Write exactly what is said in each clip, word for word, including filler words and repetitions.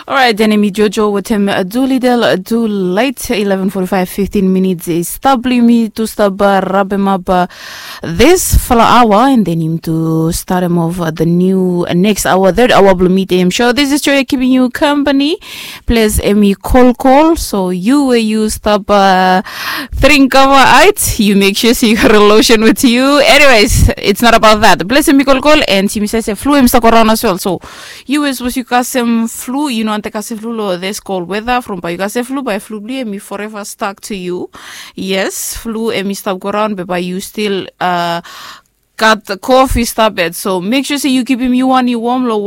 Orait, den yumi jojo wetem Doolittle Doolite, eleven forty-five, fifteen minutes i stap blong yumi tu stap rabemap this fala aoa, and then yumi tu start him off the new next hour, third hour blong midem show. This is Joy keeping you company. Ples em i kolkol, so yu we yu stap dring kava ait, yu make sure se yu gat a lotion with you. Anyways, it's not about that. Ples em i kolkol, and yumi save se flu em stap go raun as well. So yu we sapos yu kasem flu, yu no wantem kasem flu long this cold weather. From bae yu kasem flu, bae flu blong yu em i forever stuck to you. Yes, flu em i stap go raun, be bae yu stil gat kof i stap bad. So make sure se yu kipim yu wan i wom long,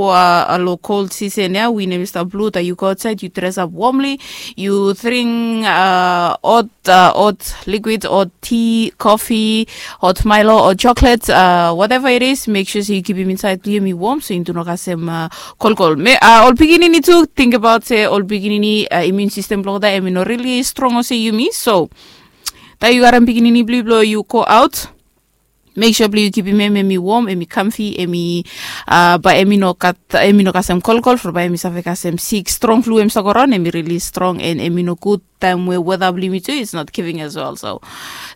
long cold season ya. Win em i stap blu, taem yu go aotsaed yu dresap womli, yu dring hot, hot liquid, hot tea, coffee, hot Milo, hot chocolate, whatever it is, make sure se yu kipim insaed blong yu em i wom, so yu tu no kasem kolkol. Ol pikinini tu, tingbaot se ol pikinini immune system blong olgeta em i no rili strong olsem yumi. So taem yu karem pikinini blong yu blong yu go aot, make sure blong yu kipim em, em i wom, em i kamfi, em i bae em i no gat, em i no kasem kolkol, from bae em i save kasem sik. Strong flu em stap go raun, em i rili strong, and em i no gud taem we weather blong yumi tu is not giving as well. So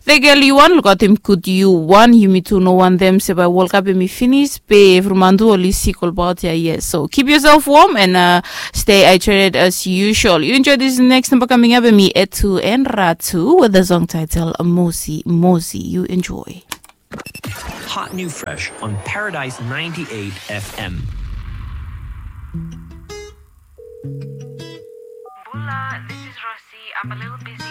the girl yu wan, lukaotem gud yu wan. Yumi tu no wantem se bae World Cup em i finis be evri man tu oli sik olbaot ya. Yes, so keep yourself warm and stay hydrated as usual. You enjoy this next number coming up, em i Etu and Ratu with the song title Mosi Mosi. You enjoy. Hot new fresh on Paradise ninety-eight F M. Bula, this is Rosie. I'm a little busy.